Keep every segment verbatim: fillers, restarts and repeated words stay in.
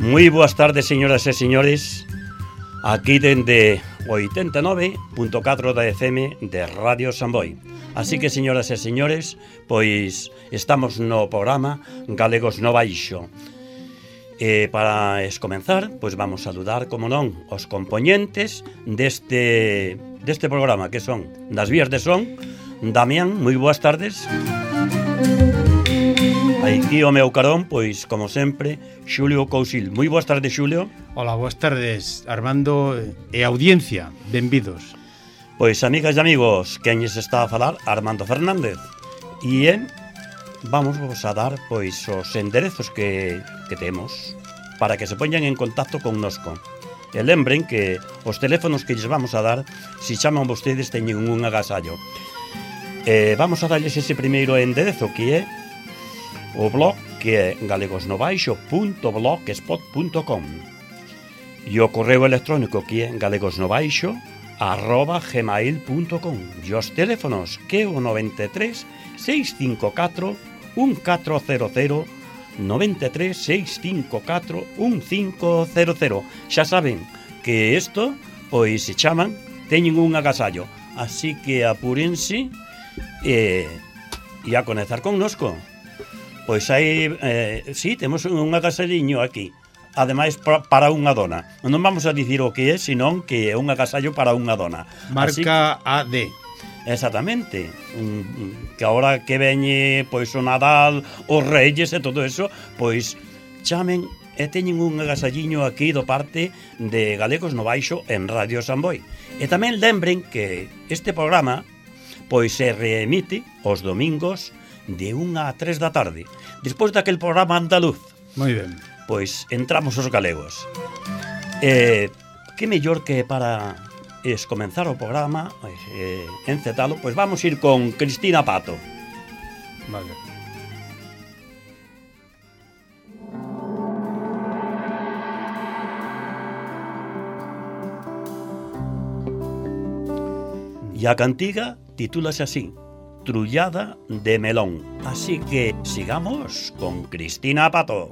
Moi boas tardes, señoras e señores. Aquí dende oitenta e nove punto catro da F M de Radio Samboy. Así que, señoras e señores, pois estamos no programa Galegos no Baixo. E para escomenzar, pois vamos a saludar, como non, os compoñentes deste, deste programa, que son das vías de son. Damián, moi boas tardes. Aquí o meu carón, pois, como sempre, Xulio Cousil. Moi boas tardes, Xulio. Hola, boas tardes, Armando e audiencia, benvidos. Pois, amigas e amigos, quen lles está a falar? Armando Fernández. E en, vamos vos a dar, pois, os enderezos que, que temos para que se poñan en contacto connosco. E lembren que os teléfonos que lles vamos a dar, se chaman vostedes, teñen un agasallo. E vamos a darles ese primeiro enderezo, que é o blog, que é galegosnobaixo punto blogspot punto com, e o correo electrónico, que é galegosnobaixo arroba gmail punto com, e os teléfonos, que é o noventa e tres, seiscentos e cincuenta e catro, un catro cero cero, noventa e tres, seiscentos e cincuenta e catro, un cinco cero cero. Xa saben que isto, pois, se chaman, teñen un agasallo, así que apúrense e, e a conectar connosco. Pois hai, eh, sí, temos un agasalliño aquí, ademais para, para unha dona. Non vamos a dicir o que é, senón que é un agasallo para unha dona. Marca así, A D. Exactamente. Um, que agora que veñe, pois, o Nadal, os Reyes e todo eso, pois chamen e teñen un agasalliño aquí do parte de Galegos no Baixo en Radio Samboy. E tamén lembren que este programa, pois, se reemite os domingos de unha a tres da tarde, despois daquel programa andaluz. Moi ben. Pois entramos os galegos. Eh, que mellor que para es comenzar o programa, eh, encetalo, pois vamos ir con Cristina Pato. Vale. E a cantiga titúlase así: Trullada de melón. Así que sigamos con Cristina Pato.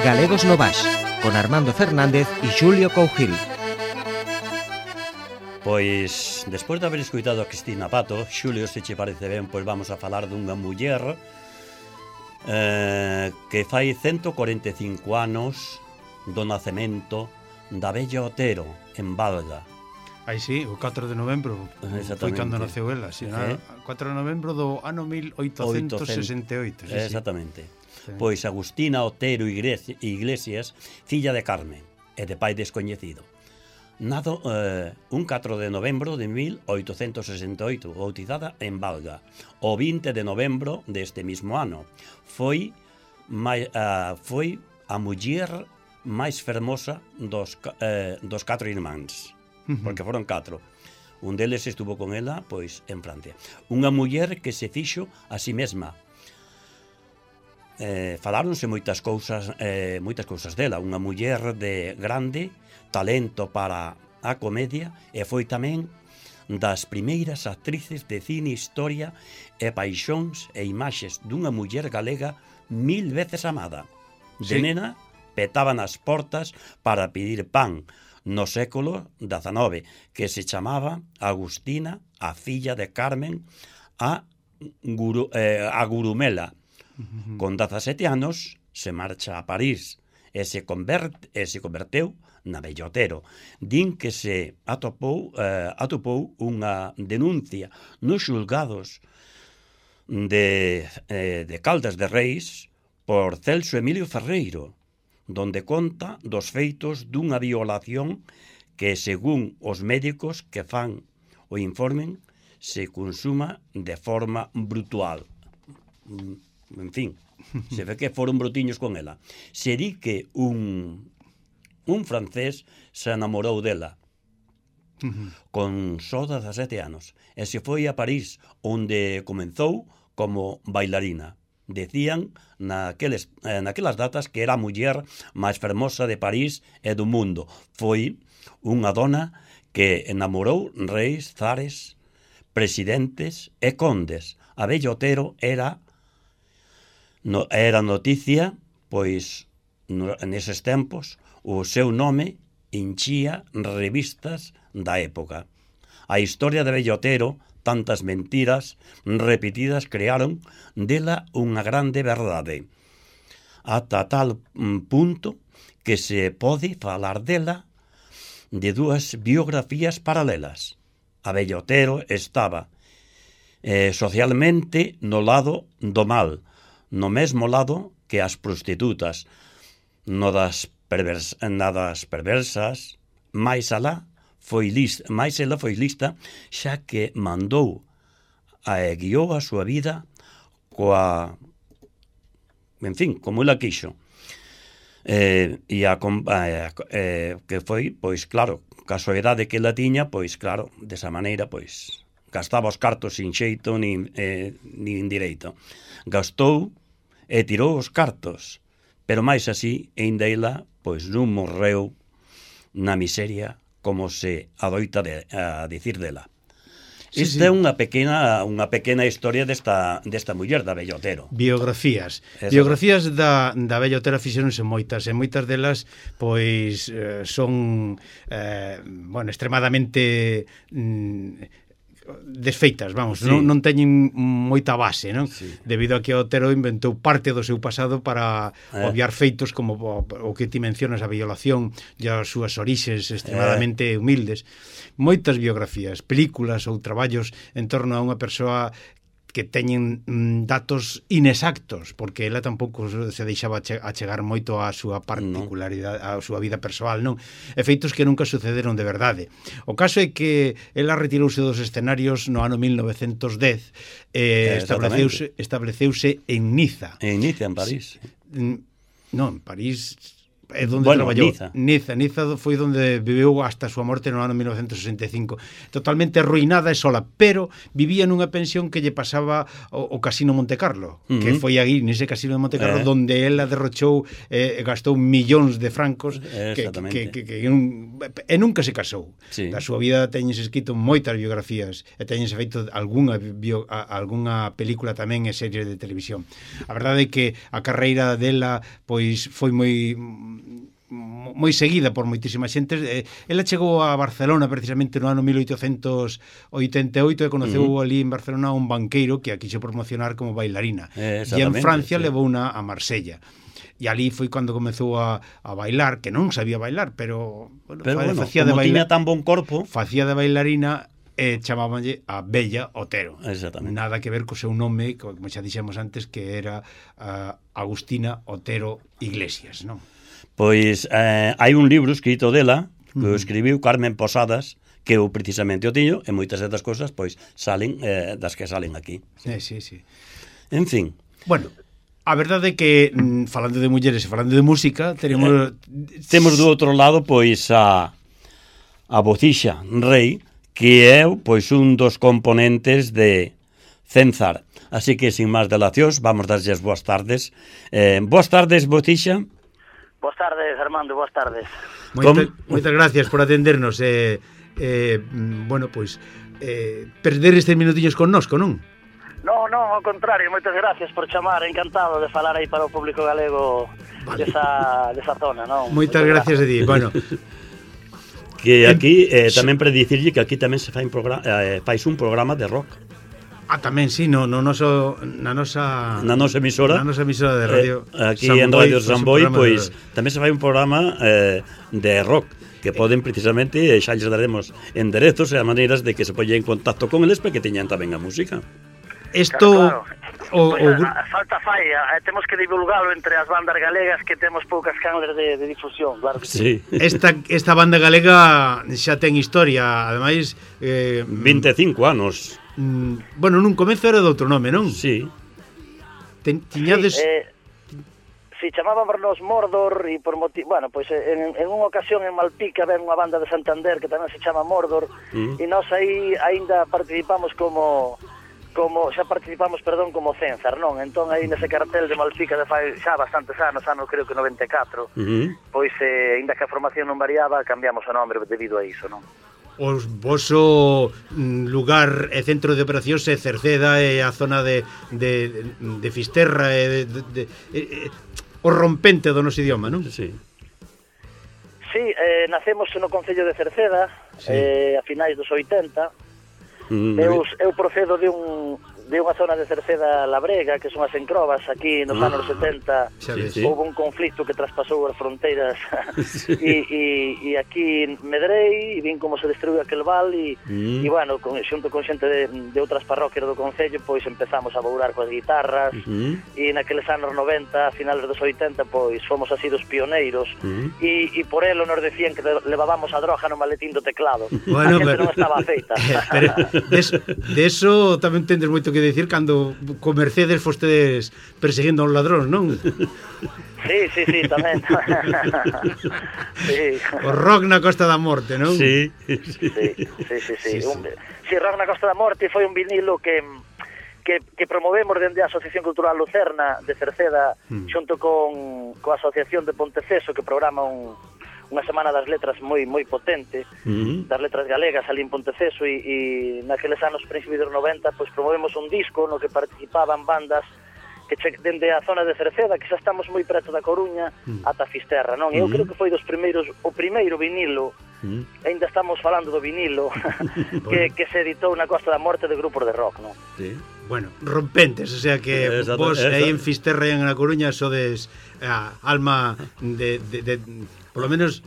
Galegos no Baix, con Armando Fernández e Xulio Cougil. Pois, despois de haber escoitado a Cristina Pato, Xulio, se che parece ben, pois vamos a falar dunha muller eh, que fai ciento corenta e cinco anos do nacemento da Bella Otero, en Valga. Aí sí, o catro de novembro foi cando naceu ela, si, eh? catro de novembro do ano mil oitocentos sesenta e oito. Sí, exactamente. Sí. Pois Agustina Otero Iglesias, filla de Carmen e de pai descoñecido. Nado eh, un catro de novembro de mil oitocentos sesenta e oito, bautizada en Valga. O vinte de novembro deste mismo ano. Foi, mai, uh, foi a muller máis fermosa dos, eh, dos catro irmáns. Uh-huh. Porque foron catro. Un deles estuvo con ela, pois, en Francia. Unha muller que se fixo a si mesma. Eh, faláronse moitas cousas, eh, moitas cousas dela. Unha muller de grande talento para a comedia e foi tamén das primeiras actrices de cine, historia e paixóns e imaxes dunha muller galega mil veces amada. De sí. Nena petaban as portas para pedir pan no século dezenove, que se chamaba Agustina, a filla de Carmen, a, Guru, eh, a Gurumela. Uh-huh. Con dezasete anos se marcha a París e se, converte, e se converteu na Bella Otero. Din que se atopou, eh, atopou unha denuncia nos xulgados de, eh, de Caldas de Reis por Celso Emilio Ferreiro, donde conta dos feitos dunha violación que, según os médicos que fan o informen, se consuma de forma brutal. En fin, se ve que foron brotiños con ela. Se di que un, un francés se enamorou dela con só dezasete anos e se foi a París, onde comenzou como bailarina. Decían naqueles, eh, naquelas datas que era a muller máis fermosa de París e do mundo. Foi unha dona que enamorou reis, zares, presidentes e condes. A Bella Otero era no, era noticia, pois no, neses tempos o seu nome enchía revistas da época. A historia de Bella Otero, tantas mentiras repetidas, crearon dela unha grande verdade, ata tal punto que se pode falar dela de dúas biografías paralelas. A Bella Otero estaba eh, socialmente no lado do mal, no mesmo lado que as prostitutas, no das, pervers, na das perversas, máis alá, foi lista, máis ela foi lista, xa que mandou a e guiou a súa vida coa, en fin, como ela quixo. Eh, e a, a, eh, que foi, pois claro, casualidade que ela tiña, pois claro, desa maneira, pois gastaba os cartos sin xeito nin, eh, nin direito. Gastou e tirou os cartos, pero máis así, ainda ela, pois non morreu na miseria, como se adoita de, a dicir dela. Sí, Esta sí. é unha pequena unha pequena historia desta desta muller da Bella Otero. Biografías. Eso. Biografías da, da Bella Otero fixeronse moitas, e moitas delas pois eh, son eh, bueno, extremadamente mm, desfeitas, vamos, sí. non, non teñen moita base, non? Sí. Debido a que Otero inventou parte do seu pasado para eh. obviar feitos como o, o que ti mencionas, a violación e as súas orixes extremadamente eh. humildes. Moitas biografías, películas ou traballos en torno a unha persoa que teñen mm, datos inexactos, porque ela tampouco se deixaba achegar moito á súa particularidade, á súa vida persoal, non? Efeitos que nunca sucederon de verdade. O caso é que ela retirouse dos escenarios no ano mil novecentos dez e eh, estableceuse, estableceuse en Niza. En Niza, en París. Non, en París é onde bueno, traballou. Niza. Niza, Niza foi onde viveu hasta a súa morte no ano mil novecentos sesenta e cinco. Totalmente arruinada e sola, pero vivía nunha pensión que lle pasaba o, o Casino Monte Carlo, uh -huh. que foi aí nese Casino de Monte Carlo eh. donde ela derrochou e eh, gastou millóns de francos que, que, que, que, que un, e nunca se casou. Sí. Da súa vida teñense escrito moitas biografías e teñense feito algunha, bio, a, algunha película tamén e series de televisión. A verdade é que a carreira dela pois foi moi moi seguida por moitísima xente. Ela chegou a Barcelona precisamente no ano mil oitocentos oitenta e oito e conoceu uh -huh. ali en Barcelona un banqueiro que a quixo promocionar como bailarina. Eh, e en Francia sí. levou una a Marsella. E ali foi cando comezou a, a bailar, que non sabía bailar, pero, bueno, pero bueno, facía como de bailar, tiña tan bon corpo, facía de bailarina e chamábanlle a Bella Otero. Nada que ver co seu nome, como xa dixemos antes, que era uh, Agustina Otero Iglesias, non? Pois eh, hai un libro escrito dela que uh -huh. escribiu Carmen Posadas, que eu precisamente o tiño, e moitas destas cousas pois salen eh, das que salen aquí. Sí, sí, sí. En fin. Bueno, a verdade é que falando de mulleres e falando de música, teremos eh, temos do outro lado pois a a Bocixa Rei, que é pois un dos componentes de Cenzar. Así que, sin máis delacións, vamos darlles boas tardes. Eh, boas tardes, Bocixa. Boas tardes, Armando, boas tardes. Moita, moitas gracias por atendernos. Eh, eh, bueno, pois, eh, perder estes minutiños connosco, non? No, no, ao contrario, moitas gracias por chamar, encantado de falar aí para o público galego vale. desa, desa zona, non? Moitas gracias a ti, bueno... Que aquí, eh, tamén para dicirlle que aquí tamén se fai un programa, eh, fais un programa de rock. Ah, tamén, sí, no, no noso, na nosa... Na nosa emisora. Na nosa emisora de radio. Eh, aquí Samboy, en Radio Samboy, pois, de... tamén se fai un programa eh, de rock, que poden precisamente, xa lles daremos enderezos e a maneiras de que se poñen en contacto con eles para que teñan tamén a música. Isto... Claro, claro. O, pues, o... Falta falla, eh, temos que divulgalo entre as bandas galegas que temos poucas canles de, de difusión, claro que sí. sí. Esta, esta banda galega xa ten historia, ademais... Eh, vinte e cinco anos. Mm, bueno, nun comezo era de outro nome, non? Sí. Ten, tiñades... Sí, eh, si chamábamos Mordor e por motivo, bueno, pois pues, en, en unha ocasión en Malpica ven unha banda de Santander que tamén se chama Mordor mm. e nós aí aínda participamos como... como xa participamos, perdón, como Cenzar, non? Entón aí nese cartel de Malpica de fai xa bastantes anos, ano creo que noventa e catro, uh -huh. pois eh, ainda que a formación non variaba, cambiamos o nome debido a iso, non? O voso lugar e centro de operacións é Cerceda e a zona de, de, de Fisterra e de, de, de, de, o rompente do noso idioma, non? Sí. Sí, eh, nacemos no concello de Cerceda, sí. eh, a finais dos oitenta. Mm, eu, eu procedo de un de unha zona de Cerceda Labrega, que son as encrobas, aquí nos ah, anos setenta sí, sí. houve un conflicto que traspasou as fronteiras sí. e, e, e aquí medrei e vin como se destruiu aquel val e, mm. e bueno, con, xunto con xente de, de outras parroquias do concello pois empezamos a bourar coas guitarras mm. e naqueles anos noventa, a finales dos oitenta pois fomos así dos pioneiros mm. e, e por elo nos decían que levábamos a droga no maletín do teclado bueno, a xente pero... non estaba feita pero de eso, de eso tamén tendes moito que decir cando co Mercedes fostedes perseguindo a un ladrón, non? Sí, sí, sí, tamén. sí. O rock na Costa da Morte, non? Sí, sí, sí, sí, sí, sí. sí, sí. Un, sí rock na Costa da Morte foi un vinilo que que, que promovemos dende a Asociación Cultural Lucerna de Cerceda mm. xunto con coa Asociación de Ponteceso que programa un unha semana das letras moi moi potente, uh-huh. das letras galegas ali en Ponteceso e, e naqueles anos principios dos noventa pois promovemos un disco no que participaban bandas que che, dende a zona de Cerceda, que xa estamos moi preto da Coruña, uh-huh. ata Fisterra, non? Eu uh-huh. creo que foi dos primeiros, o primeiro vinilo, uh-huh. ainda estamos falando do vinilo, que, que se editou na Costa da Morte de grupos de rock, non? Sí. Bueno, rompentes, o sea que exacto, vos exacto. aí en Fisterra e en a Coruña sodes a alma de, de, de por lo menos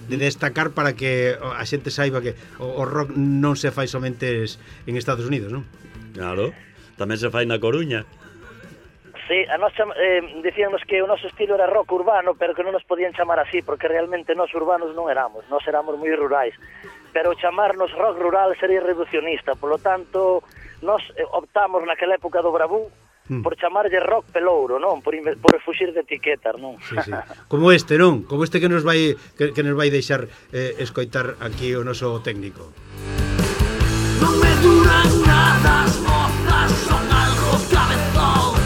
de destacar para que a xente saiba que o, o rock non se fai somente en Estados Unidos, non? Claro, tamén se fai na Coruña. Sí, a nos eh, dicíamos que o noso estilo era rock urbano, pero que non nos podían chamar así, porque realmente nós urbanos non éramos, nós éramos moi rurais. Pero chamarnos rock rural sería reduccionista, polo tanto, nós optamos naquela época do Bravú, por chamarlle rock pelouro, non? Por, por fuxir de etiquetas, non? Sí, sí. Como este, non? Como este que nos vai que, que nos vai deixar eh, escoitar aquí o noso técnico. Non me duran nada as mozas, son algo cabezón.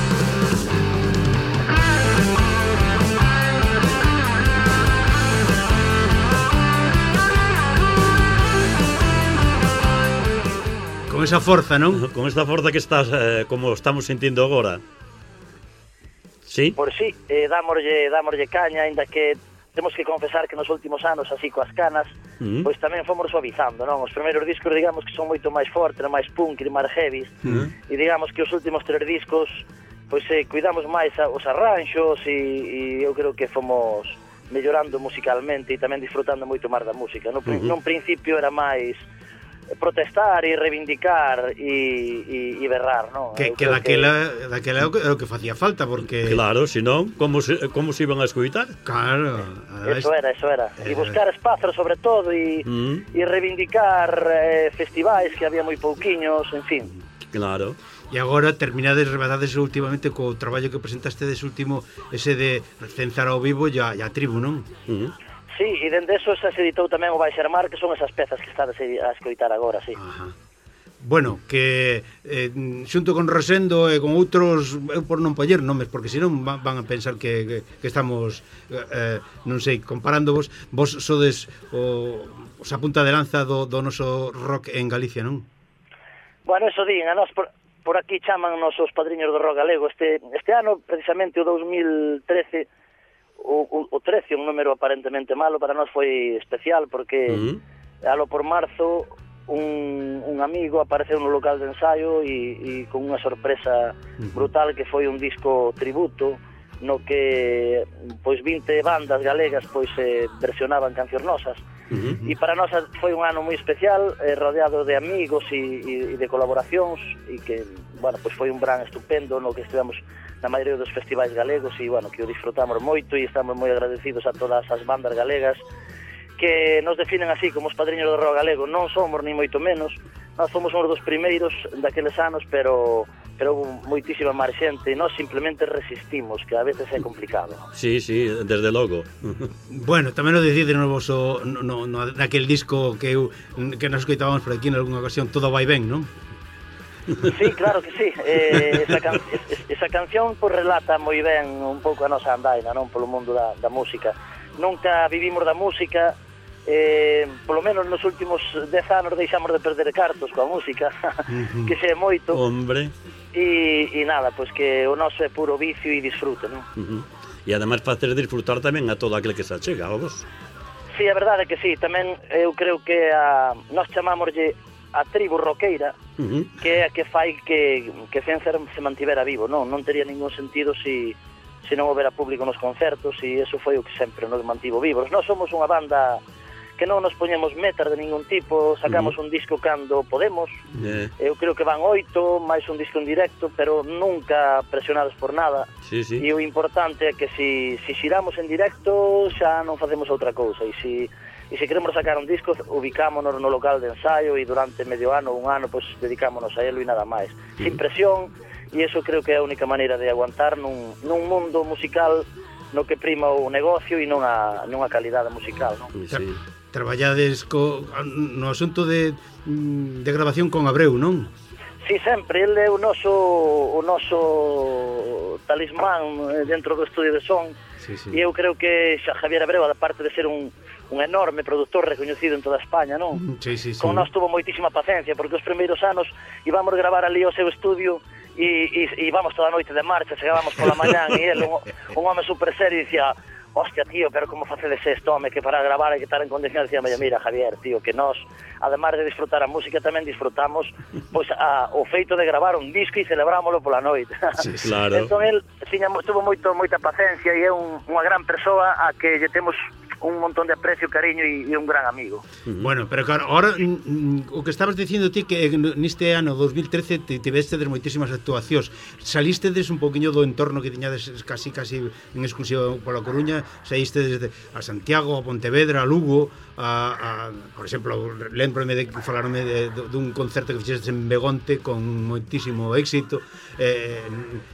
Con esa forza, non? Con esta forza que estás, eh, como estamos sentindo agora. Sí? Por sí, eh, dámoslle, dámoslle caña, ainda que temos que confesar que nos últimos anos, así coas canas, uh-huh. pois tamén fomos suavizando, non? Os primeiros discos, digamos, que son moito máis fortes, máis punk e máis heavy, uh-huh. e digamos que os últimos tres discos, pois eh, cuidamos máis a, os arranxos, e, e eu creo que fomos mellorando musicalmente e tamén disfrutando moito máis da música. No, uh-huh. Nun principio era máis protestar e reivindicar e, e, e berrar, non? Que, que daquela, que... daquela é o que, é o que facía falta, porque... Claro, senón, como se, como se iban a escoitar? Claro. Eso era, eso era. E buscar espazos, sobre todo, e, mm. e reivindicar eh, festivais que había moi pouquiños, en fin. Claro. E agora terminades, rebadades últimamente co traballo que presentaste des último, ese de cenzar ao vivo e a, a tribu, non? Mm. Sí, e dende eso se editou tamén o Baixarmar, que son esas pezas que estades a escoitar agora, sí. Ajá. Bueno, que eh, xunto con Rosendo e con outros, eu por non poñer nomes, porque senón van a pensar que, que, que estamos, eh, non sei, comparándovos, vos sodes o, os a punta de lanza do, do noso rock en Galicia, non? Bueno, eso din, a nos por, por aquí chaman nos os padriños do rock galego. Este, este ano, precisamente, o dous mil trece, O, o, o trece, un número aparentemente malo, para nós foi especial porque uh-huh. alo por marzo un, un amigo apareceu no local de ensaio e, e con unha sorpresa uh-huh. brutal, que foi un disco tributo no que pois vinte bandas galegas pois eh, versionaban cancións nosas. Uh-huh. E para nós foi un ano moi especial, eh, rodeado de amigos e, e, e de colaboracións, e que, bueno, pois foi un verán estupendo no que estivemos na maioría dos festivais galegos e, bueno, que o disfrutamos moito e estamos moi agradecidos a todas as bandas galegas que nos definen así como os padriños do rock galego. Non somos ni moito menos, nós fomos uns dos primeiros daqueles anos, pero pero houve moitísima máis xente e nós simplemente resistimos, que a veces é complicado. Sí, sí, desde logo. Bueno, tamén o decide no voso, no, no, naquel disco que eu, que nos escoitábamos por aquí en algunha ocasión, Todo vai ben, non? Sí, claro que sí. Eh, esa, can esa canción pues, relata moi ben un pouco a nosa andaina, non, polo mundo da, da música. Nunca vivimos da música, eh, polo menos nos últimos dez anos deixamos de perder cartos coa música, uh-huh. que xe é moito. Hombre. E, e nada, pois pues, que o noso é puro vicio e disfrute, non? Uh-huh. E ademais facer disfrutar tamén a todo aquel que se achega, a vos. Sí, a verdade é que sí, tamén eu creo que a, nós chamámoslle a tribu roqueira, uh-huh. que é a que fai que, que Cencer se mantivera vivo, non? Non tería ningún sentido se si, si non houbera público nos concertos, e eso foi o que sempre nos mantivo vivos. Nós somos unha banda que non nos poñemos metas de ningún tipo, sacamos uh-huh. un disco cando podemos, yeah. eu creo que van oito, máis un disco en directo, pero nunca presionados por nada, sí, sí. e o importante é que se si, si xiramos en directo xa non facemos outra cousa, e se si, se queremos sacar un disco, ubicámonos no local de ensaio e durante medio ano, un ano, pues dedicámonos a elo e nada máis, uh-huh. sin presión, e iso creo que é a única maneira de aguantar nun, nun mundo musical no que prima o negocio e non a, non a calidade musical, non? Sí. Traballades co, no asunto de, de grabación con Abreu, non? Sí, sempre, ele é o noso o noso talismán dentro do estudio de son, sí, sí. E eu creo que xa Javier Abreu, aparte de ser un un enorme produtor recoñecido en toda España, non? Sí, sí, sí. Con nós tuvo moitísima paciencia, porque os primeiros anos íbamos gravar ali ao seu estudio e, e, e íbamos toda a noite de marcha, chegábamos pola mañán e ele, un, un home super serio, dicía: hostia, tío, pero como facedes isto, home, que para gravar hai que estar en condicións. Dicía, mira, Javier, tío, que nós, además de disfrutar a música, tamén disfrutamos pois a, o feito de gravar un disco e celebrámoslo pola noite. Sí, claro. Entón, el tiña, tuvo moito, moita paciencia e é un, unha gran persoa a que lle temos un montón de aprecio, cariño e, e un gran amigo. Uh-huh. Bueno, pero claro, ahora mm, o que estabas dicindo ti que neste ano dos mil trece te tivestes moitísimas actuacións. Salistedes un poquinho do entorno que tiñades casi casi en exclusiva pola Coruña, saíste desde a Santiago, a Pontevedra, a Lugo, a, a por exemplo, lembrome de que falaronme de, de, dun concerto que fixestes en Begonte con moitísimo éxito, eh,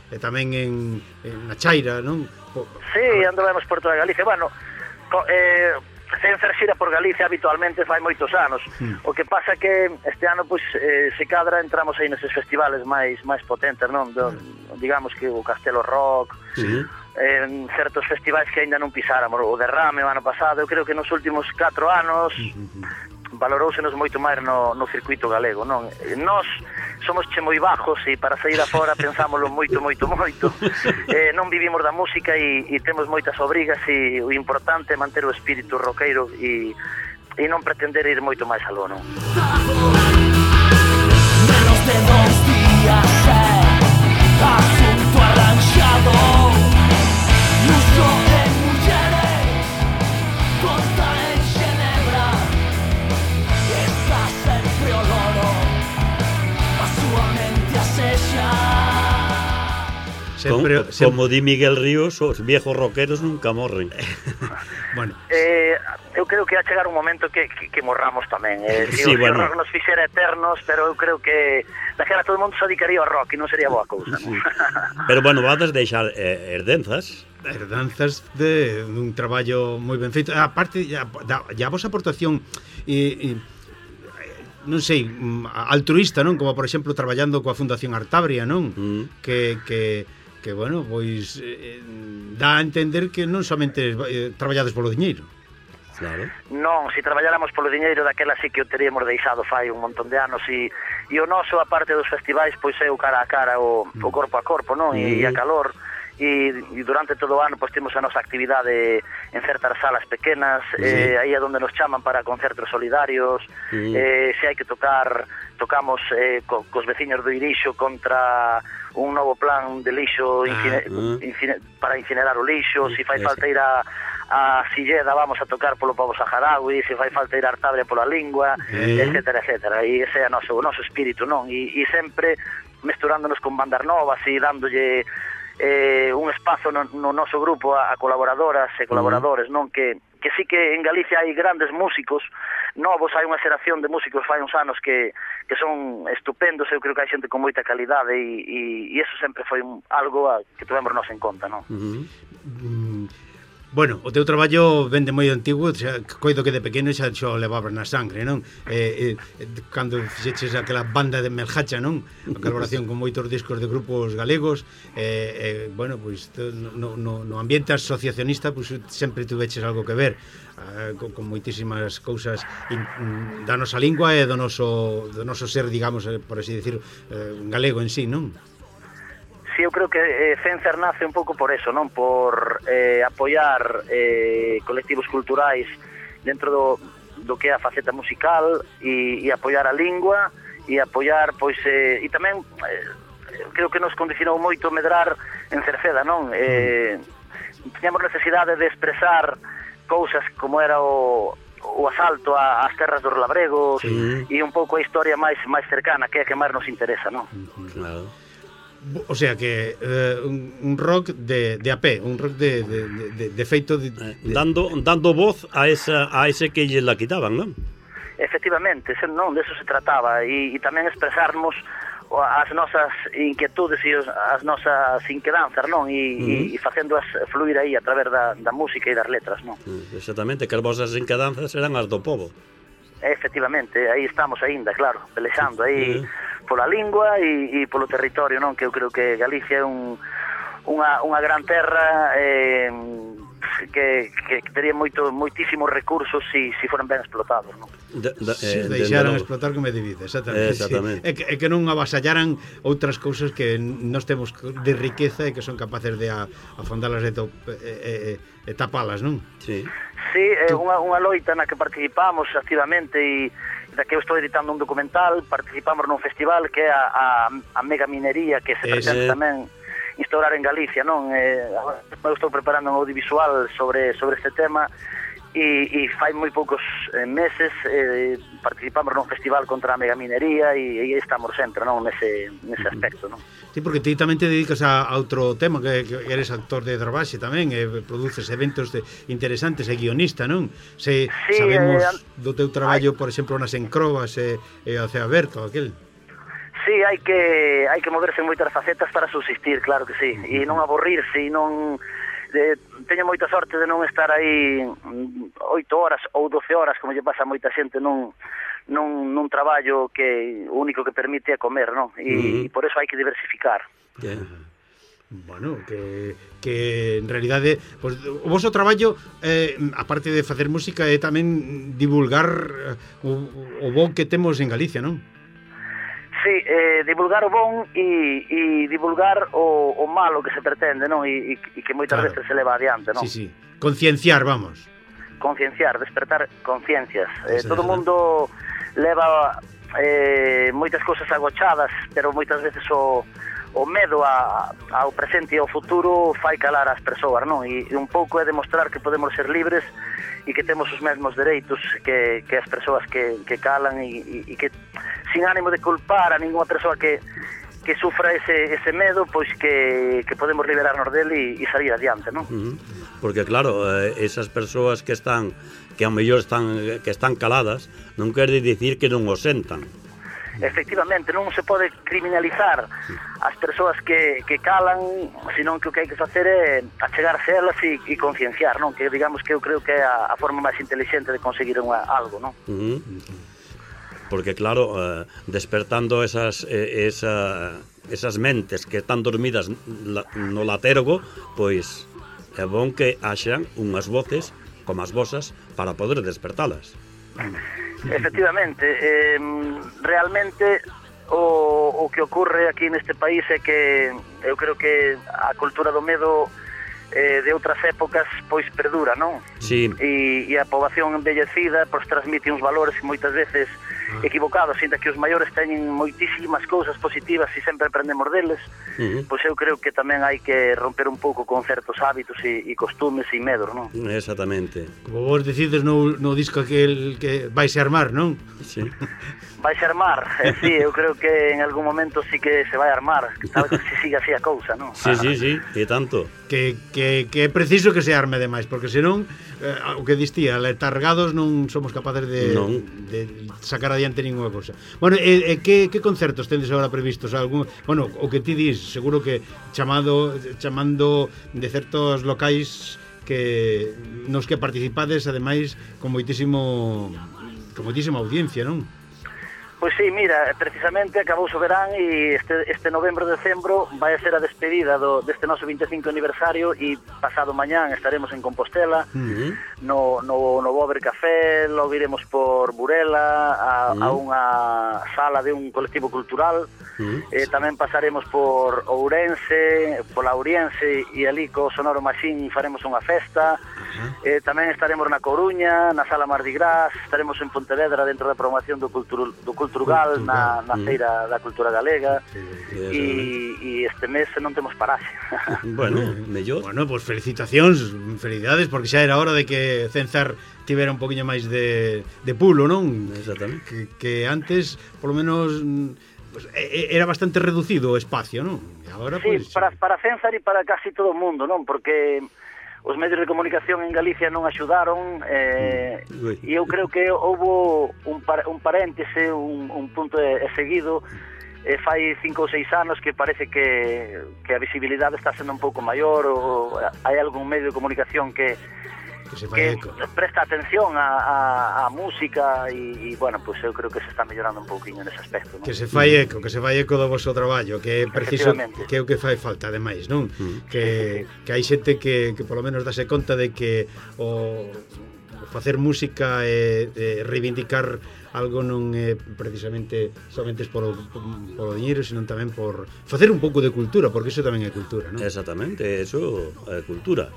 e tamén en, en na Chaira, non? Sí, andamos por toda Galicia. Bueno, eh, sen fer xira por Galicia habitualmente fai moitos anos. Mm. O que pasa que este ano pois eh, se cadra entramos aí neses festivales máis máis potentes, non? Do, mm. digamos que o Castelo Rock, sí. En certos festivais que aínda non pisáramos, o Derrame o ano pasado, eu creo que nos últimos catro anos mm-hmm. valorousenos moito máis no, no circuito galego, non? Nós somos che moi bajos e para sair afora pensámoslo moito, moito, moito. Eh, non vivimos da música e, e temos moitas obrigas e o importante é manter o espírito roqueiro e, e non pretender ir moito máis aló, non? Menos de dos días, eh, asunto arranxado, luxo en mulleres, conta en Xenebra, está sempre o loro, a súa mente asexa. Sempre, como, sempre... como di Miguel Ríos, os viejos rockeros nunca morren. Bueno. Eh, eu creo que va a chegar un momento que, que, que morramos tamén. Eh, si sí, o bueno. rock nos fixera eternos, pero eu creo que daquela todo o mundo se dedicaría ao rock e non sería boa cousa. Sí. Pero bueno, vades deixar eh, herdenzas. Herdanzas de un traballo moi ben feito. A parte, ya, ya a vosa aportación e, e non sei, altruista, non? Como por exemplo traballando coa Fundación Artabria, non? Mm. Que, que, que bueno, pois eh, dá a entender que non somente eh, traballades polo diñeiro. Claro. Non, se traballáramos polo diñeiro daquela sí que o teríamos deixado fai un montón de anos e, e o noso, a parte dos festivais, pois é o cara a cara, o, mm. o corpo a corpo, non? E, mm. e a calor. E, e durante todo o ano pois temos a nosa actividade en certas salas pequenas, sí. eh, aí é onde nos chaman para concertos solidarios, sí. eh, se hai que tocar, tocamos eh, co, cos veciños do Irixo contra un novo plan de lixo infine, ah, uh. infine, para incinerar o lixo, sí, se fai falta ir a a Silleda vamos a tocar polo pobo saharaui, se fai falta ir a Artabria pola lingua, sí. etcétera, etcétera, e ese é o noso, o noso espírito, non? E, e sempre mesturándonos con bandas novas e dándolle eh, un espazo no, no noso grupo a, a colaboradoras e colaboradores, non? Que, que sí que en Galicia hai grandes músicos novos, hai unha xeración de músicos fai uns anos que, que son estupendos, eu creo que hai xente con moita calidade e, e, e eso sempre foi un, algo a, que tuvemos nos en conta, non? Uh-huh. Mm. Bueno, o teu traballo vende moi antigo, xa, coido que de pequeno xa xo levabas na sangre, non? Eh, eh, cando fixeches aquela banda de Melhacha, non? A colaboración con moitos discos de grupos galegos, eh, eh, bueno, pois pues, no, no, no ambiente asociacionista pues, sempre tuveches algo que ver eh, con, con moitísimas cousas in, da nosa lingua e do noso, do noso ser, digamos, eh, por así decir, eh, galego en sí, non? Sí, eu creo que eh, Fencer nace un pouco por eso, non? Por eh, apoiar eh, colectivos culturais dentro do, do que é a faceta musical e, e apoiar a lingua e apoiar, pois, eh, e tamén eh, creo que nos condicionou moito medrar en Cerceda, non? Eh, tiñamos necesidade de expresar cousas como era o o asalto ás terras dos labregos, sí. E un pouco a historia máis máis cercana, que é a que máis nos interesa, non? Claro. O sea que eh, un, un rock de, de a pé, un rock de, de, de, de feito de, de... Dando, dando voz a esa a ese que lle la quitaban, non? Efectivamente, non, de eso se trataba e, e tamén expresarmos as nosas inquietudes e as nosas inquedanzas, non? E, uh-huh. e, e facéndoas fluir aí a través da, da música e das letras, non? Exactamente, que as vosas inquedanzas eran as do povo. Efectivamente, aí estamos aínda, claro, pelexando aí... Uh-huh. Pola lingua e, e polo territorio, non? Que eu creo que Galicia é un, unha, unha gran terra eh, que, que tería moito, moitísimos recursos se si, si foran ben explotados, non? De, de, eh, se deixaran de explotar como é divide, exactamente, exactamente. Sí. E, que, e que non avasallaran outras cousas que nós temos de riqueza e que son capaces de a, afondalas e, e, e, e tapalas, non? Sí. Sí, é unha, unha loita na que participamos activamente e da que eu estou editando un documental, participamos nun festival que é a, a, a mega minería que se pretende tamén instaurar en Galicia, non? Eh, eu estou preparando un audiovisual sobre sobre este tema e, e fai moi poucos eh, meses eh, participamos nun festival contra a megaminería e, e estamos sempre, non, nese, nese aspecto, non? Sí, porque ti tamén te dedicas a, a outro tema, que, que eres actor de Dravaxe tamén, e produces eventos de, interesantes e guionista, non? Se sí, sabemos eh, do teu traballo, por exemplo, nas Encrobas e, e o Ceo Aberto, aquel. Sí, hai que hai que moverse en moitas facetas para subsistir, claro que sí, e non aburrirse, e non... De, teño moita sorte de non estar aí oito horas ou doce horas, como lle pasa a moita xente nun, nun, nun traballo que o único que permite é comer, non? E, uh-huh. e por eso hai que diversificar. Yeah. Bueno, que, que en realidade pues, o vosso traballo eh, aparte de facer música é tamén divulgar o, o bo que temos en Galicia, non? Sí, eh, divulgar o bon e, e divulgar o, o malo que se pretende, non? E, e que moitas claro. veces se leva adiante, non? Sí, sí, concienciar, vamos. Concienciar, despertar conciencias. Eh, todo o mundo leva eh, moitas cousas agochadas, pero moitas veces o, o medo a, ao presente e ao futuro fai calar as persoas, non? E, e un pouco é demostrar que podemos ser libres e que temos os mesmos dereitos que, que as persoas que, que calan e, e, e que sin ánimo de culpar a ninguna persoa que, que sufra ese, ese medo, pois que, que podemos liberarnos dele e, e salir adiante, non? Uh-huh. Porque claro, eh, esas persoas que están que ao mellor están que están caladas, non quere dicir que non o sentan. Efectivamente, non se pode criminalizar as persoas que, que calan, senón que o que hai que facer é achegarse elas e, e concienciar, non? Que digamos que eu creo que é a, a forma máis inteligente de conseguir unha, algo, non? Uh-huh. Porque claro, eh, despertando esas eh, esa, esas mentes que están dormidas no latergo, pois é bon que haxan unhas voces como as vosas para poder despertalas. Efectivamente, eh, realmente o, o que ocurre aquí neste país é que eu creo que a cultura do medo eh, de outras épocas pois perdura, non? Sí. E, e a poboación envellecida pois transmite uns valores que moitas veces equivocados, sinta que os maiores teñen moitísimas cousas positivas e sempre aprendemos deles, uh-huh. pois eu creo que tamén hai que romper un pouco con certos hábitos e, e costumes e medos, non? Exactamente. Como vos decides no, no disco aquel que vais a armar, non? Sí. Vais a armar, eh, sí, eu creo que en algún momento sí que se vai a armar, sabes, se siga así a cousa, non? Sí, sí, sí, e tanto. Que, que, que é preciso que se arme demais, porque senón, eh, o que distía, letargados non somos capaces de, de sacar adiante ninguna cousa. Bueno, e, e que, que concertos tendes agora previstos? Algún, bueno, o que ti dis, seguro que chamado chamando de certos locais que nos que participades, ademais, con moitísimo con moitísima audiencia, non? Pois sí, mira, precisamente acabou o verán e este, este novembro, decembro vai a ser a despedida do, deste noso vinte e cinco aniversario e pasado mañán estaremos en Compostela, uh-huh. no, no, no Bober Café, logo iremos por Burela a, uh-huh. a unha sala de un colectivo cultural, uh-huh. eh, tamén pasaremos por Ourense, por Lauriense e ali co Sonoro Machín faremos unha festa, uh-huh. eh, tamén estaremos na Coruña, na Sala Mardi Gras, estaremos en Pontevedra dentro da programación do Cultura, do Culturgal, na, na Feira da Cultura Galega, e, e este mes non temos paraxe. Bueno, mellor. Bueno, pois pues felicitacións, felicidades, porque xa era hora de que Cenzar tivera un poquinho máis de, de pulo, non? Exactamente. Que, que antes, polo menos, pues, era bastante reducido o espacio, non? E agora, sí, pues, para, para Cenzar e para casi todo o mundo, non? Porque os medios de comunicación en Galicia non axudaron, eh, e eu creo que houbo un, par, un paréntese, un, un punto de, de seguido, eh, fai cinco ou seis anos que parece que, que a visibilidade está sendo un pouco maior, ou hai algún medio de comunicación que que, se que presta atención a, a, a música e, e, bueno, pues eu creo que se está mellorando un pouquinho nese aspecto, non? Que se fai eco, que se fai eco do vosso traballo, que é preciso, que é o que fai falta, ademais, non? Mm. Que, que hai xente que, que polo menos dase conta de que o, o facer música e, e reivindicar algo non é precisamente somente por o, por o diñeiro, senón tamén por facer un pouco de cultura, porque iso tamén é cultura, non? Exactamente, eso é cultura.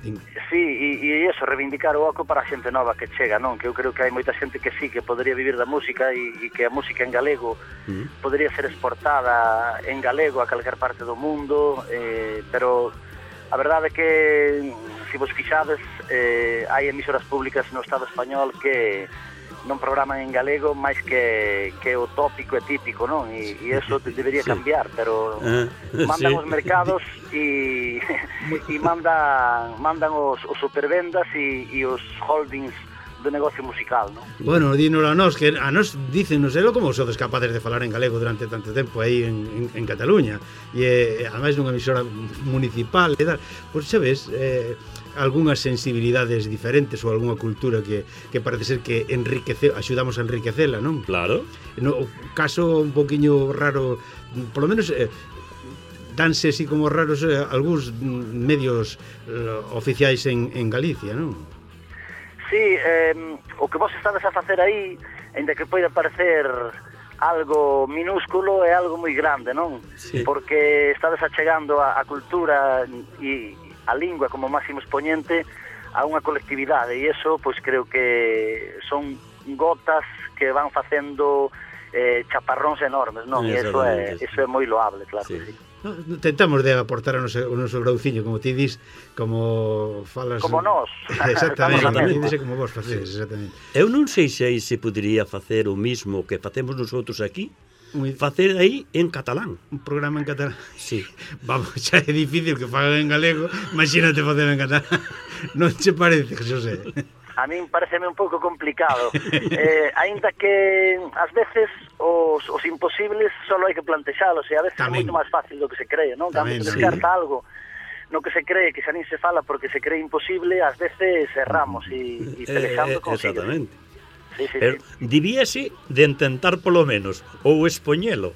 Sí, e, e iso, reivindicar o oco para a xente nova que chega, non? Que eu creo que hai moita xente que sí, que podría vivir da música e, e que a música en galego uh-huh. podría ser exportada en galego a calquer parte do mundo, eh, pero a verdade é que se vos fixades, eh, hai emisoras públicas no Estado español que non programan en galego máis que, que o tópico e típico, non? E, e eso debería cambiar, pero uh, mandan sí. os mercados e, e mandan, mandan os, os supervendas e, e os holdings do negocio musical, non? Bueno, dinos a nós, que a nós dícenos elo como sodes capaces de falar en galego durante tanto tempo aí en, en, en Cataluña, e ademais nunha emisora municipal e tal, pois sabes, eh, algunhas sensibilidades diferentes ou algunha cultura que, que parece ser que enriquece, axudamos a enriquecela, non? Claro. No, o caso un poquinho raro, por lo menos eh, danse así como raros eh, algúns medios eh, oficiais en, en Galicia, non? Sí, eh, o que vos estades a facer aí, ainda que poida parecer algo minúsculo, é algo moi grande, non? Sí. Porque estades achegando a, a cultura e a lingua como máximo expoñente a unha colectividade, e iso, pois creo que son gotas que van facendo eh, chaparróns enormes, non? E iso é, iso é moi loable, claro sí. que sí. No, tentamos de aportar o noso, o noso grauciño, como ti dis, como falas... Como nós. Exactamente, exactamente. Como vos facedes, exactamente. Eu non sei se aí se podería facer o mismo que facemos nosotros aquí, Muy... facer aí en catalán. Un programa en catalán? Sí. Vamos, xa é difícil que fagan en galego, imagínate facer en catalán. Non che parece, José? A min pareceme un pouco complicado. Eh, ainda que ás veces os, os imposibles solo hai que plantexalos, e a veces Tamén. é moito máis fácil do que se cree, non? Cando se descarta sí. algo no que se cree que xa nin se fala porque se cree imposible, ás veces erramos e, e pelexando eh, consigo. Exactamente. Sí, sí, Pero sí. debíase de intentar polo menos ou expoñelo.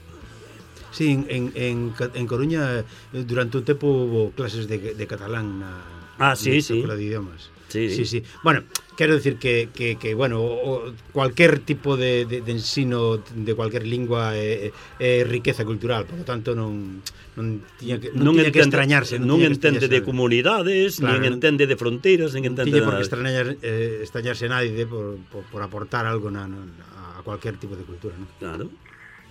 Sí, en, en, en, en Coruña durante un tempo hubo clases de, de catalán na, ah, sí, na sí. escola de idiomas. Sí, sí, sí. Bueno, quero decir que, que, que bueno, o, cualquier tipo de, de, de ensino de cualquier lingua é, é riqueza cultural, por lo tanto non non tiña que non, non tiña entende, que extrañarse, non, non entende de comunidades, claro, nin entende de fronteiras, nin entende tiña por que extrañar eh, extrañarse nadie por, por, por aportar algo na, na, a cualquier tipo de cultura, ¿no? Claro.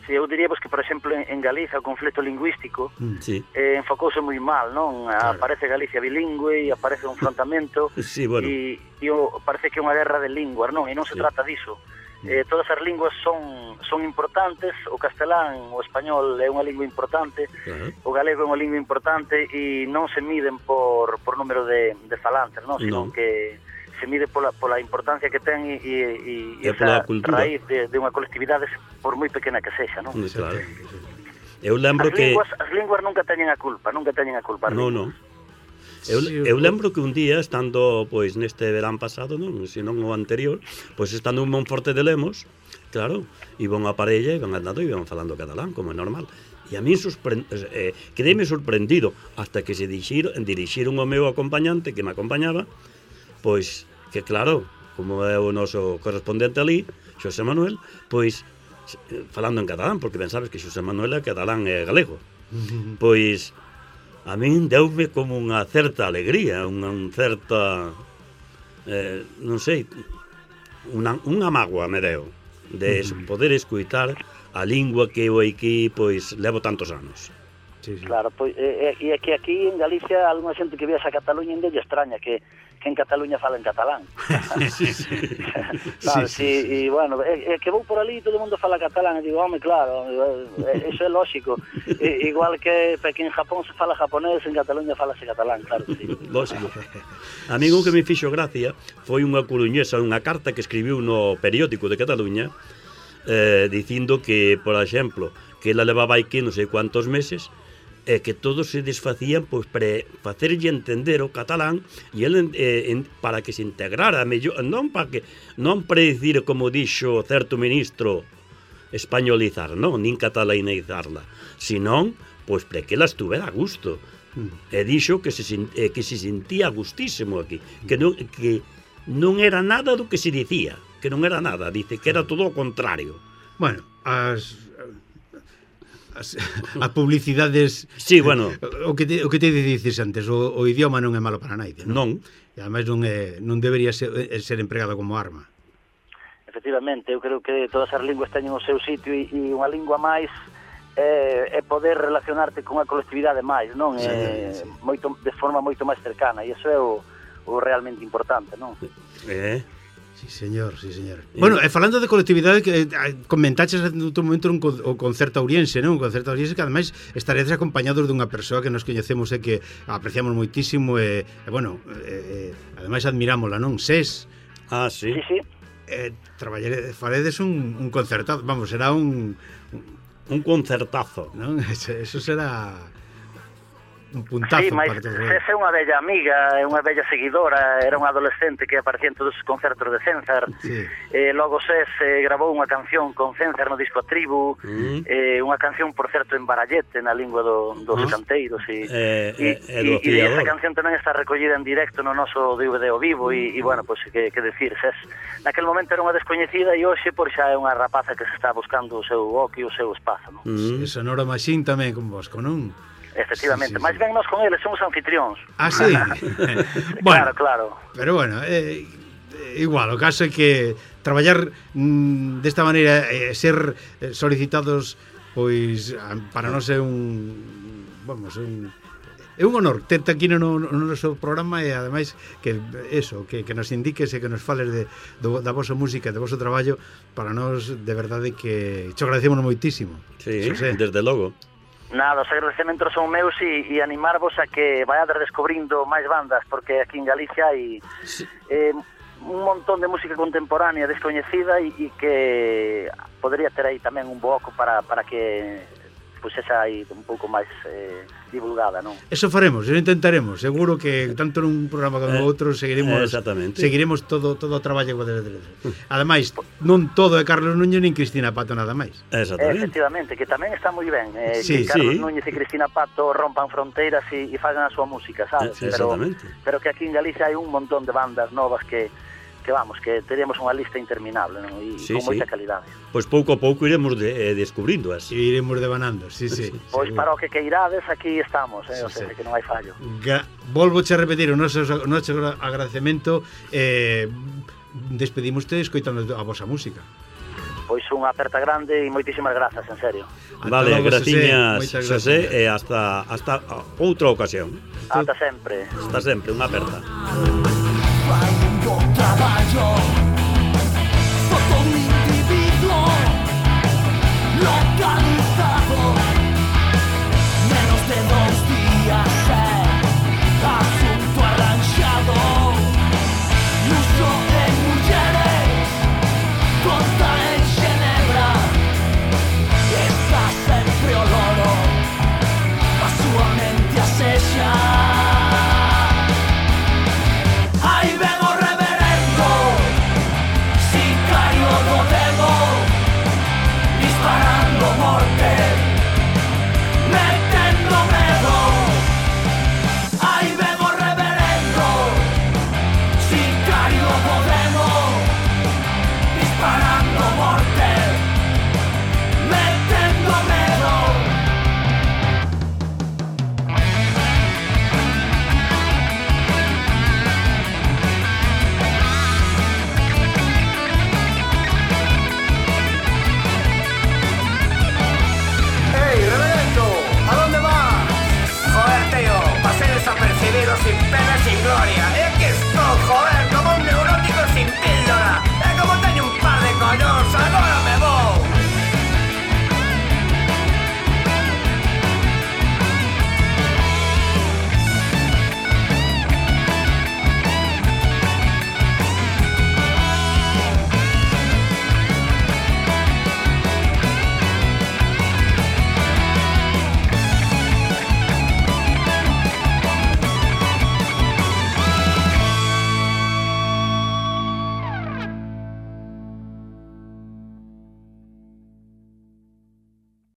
Sí, eu diríamos que, por exemplo, en, en Galiza o conflito lingüístico sí. eh, enfocouse moi mal, non? Claro. Aparece Galicia bilingüe e aparece un enfrontamento sí, bueno. e, e o, parece que é unha guerra de linguas, non? E non se sí. trata diso. Eh, todas as linguas son, son importantes, o castelán, o español é unha lingua importante, uh-huh. o galego é unha lingua importante e non se miden por, por número de, de falantes, non? Sino no. que se mide pola, pola importancia que ten e, e, e esa raíz de, de unha colectividade por moi pequena que sexa, non? Claro. Eu lembro as que... Linguas, as linguas nunca teñen a culpa, nunca teñen a culpa. Non, non. Eu, eu lembro que un día, estando pois neste verán pasado, non, se non o anterior, pois estando en Monforte de Lemos, claro, iba unha parella, iban andando e iban falando catalán, como é normal. E a mí sorprend... eh, quedéme sorprendido hasta que se dirixiron, dirixiron o meu acompañante que me acompañaba, pois que claro, como é o noso correspondente ali, Xosé Manuel, pois falando en catalán, porque ben sabes que Xosé Manuel é catalán e galego. Pois a min deume como unha certa alegría, unha un certa eh, non sei, unha, unha mágoa me deu de poder escuitar a lingua que eu aquí pois levo tantos anos. Sí, sí. Claro, pois, e, e que aquí en Galicia alguna xente que viaxa a Cataluña ainda lle extraña que, que en Cataluña fala en catalán. sí, sí. Claro, sí, sí, sí, sí. E, bueno, é, é que vou por ali e todo o mundo fala catalán, e digo, home, claro, é, eso é lógico. E, igual que, que en Japón se fala japonés, en Cataluña falase catalán, claro, sí. Lógico. A mí o que me fixo gracia foi unha coruñesa, unha carta que escribiu no periódico de Cataluña, eh, dicindo que, por exemplo, que ela levaba aquí non sei cuántos meses, e que todos se desfacían pois para facerlle entender o catalán e ele eh, en, para que se integrara mellor, non para que non para dicir como dixo certo ministro españolizar, non, nin catalanizarla, senón pois para que ela estuvera a gusto. E dixo que se eh, que se sentía gustísimo aquí, que non que non era nada do que se dicía, que non era nada, dice que era todo o contrario. Bueno, as As, as publicidades sí, bueno, o que te, o que te dices antes, o, o idioma non é malo para naide, non. non? E ademais non é non debería ser, ser empregado como arma. Efectivamente, eu creo que todas as linguas teñen o seu sitio e, e unha lingua máis é, é poder relacionarte con a colectividade máis, non? Sí, é, sí. Moito, de forma moito máis cercana, e iso é o, o realmente importante, non? Eh... Sí, señor, sí, señor. Sí. Bueno, e falando de colectividade, que comentaches en outro momento un, o concerto auriense, non? Un concerto auriense que ademais estaredes acompañados dunha persoa que nos coñecemos e que apreciamos moitísimo e, e bueno, e, e, ademais admirámola, non? Ses. Ah, sí. Sí, sí. Eh, traballedes, faredes un, un concerto, vamos, será un... Un concertazo. Non? Eso, eso será... un puntazo sí, mas para todos. Ses é unha bella amiga, é unha bella seguidora, era unha adolescente que aparecía en todos os concertos de Cénzar. Sí. Eh, logo Ses eh, grabou unha canción con Cénzar no disco A Tribu, mm. eh, unha canción, por certo, en barallete, na lingua do, dos ah. canteiros. E, eh, e, eh, e, e esa canción tamén está recollida en directo no noso D V D ao vivo e, e bueno, pois, pues, que, que decir, Ses naquel momento era unha descoñecida e hoxe por xa é unha rapaza que se está buscando o seu oco e o seu espazo, non? Mm. E Sonora Machine tamén con Bosco, non? Efectivamente, sí, sí, máis sí. ben nós con eles somos anfitrións. Ah, sí? Bueno, claro, claro. Pero bueno, eh, igual, o caso é que traballar mm, desta maneira e eh, ser solicitados, pois, para nós é un... Vamos, un... É un honor terte aquí no, no, no noso programa e ademais que eso, que, que nos indiques e que nos fales de, do, da vosa música, do voso traballo, para nós de verdade que te agradecemos moitísimo. Sí, desde logo. Nada, os agradecementos son meus e, e animarvos a que vaiades descubrindo máis bandas, porque aquí en Galicia hai sí. eh, un montón de música contemporánea descoñecida e, e que podría ter aí tamén un boco para, para que pois esa aí un pouco máis eh, divulgada, non? Eso faremos, eso intentaremos. Seguro que tanto nun programa como no outro seguiremos seguiremos todo todo o traballo que debe. Ademais, non todo é Carlos Núñez nin Cristina Pato nada máis. Exactamente. Efectivamente, que tamén está moi ben, eh, sí, que Carlos sí. Núñez e Cristina Pato rompan fronteiras e, e fagan a súa música, sabes? Sí, pero, pero que aquí en Galicia hai un montón de bandas novas que que vamos, que teríamos unha lista interminable, non? E sí, con moita sí. calidade. Pois pouco a pouco iremos de, eh, descubrindo as. E iremos devanando, sí, sí. Pois para o que queirades, aquí estamos, eh? Sí, o sea, sí. que non hai fallo. Gra Volvoche a repetir o noso, o noso agradecemento, eh, despedimoste escoitando a vosa música. Pois unha aperta grande e moitísimas grazas, en serio. Vale, graciñas, Xosé, e hasta, hasta outra ocasión. Ata sempre. Hasta sempre, unha aperta. Traballo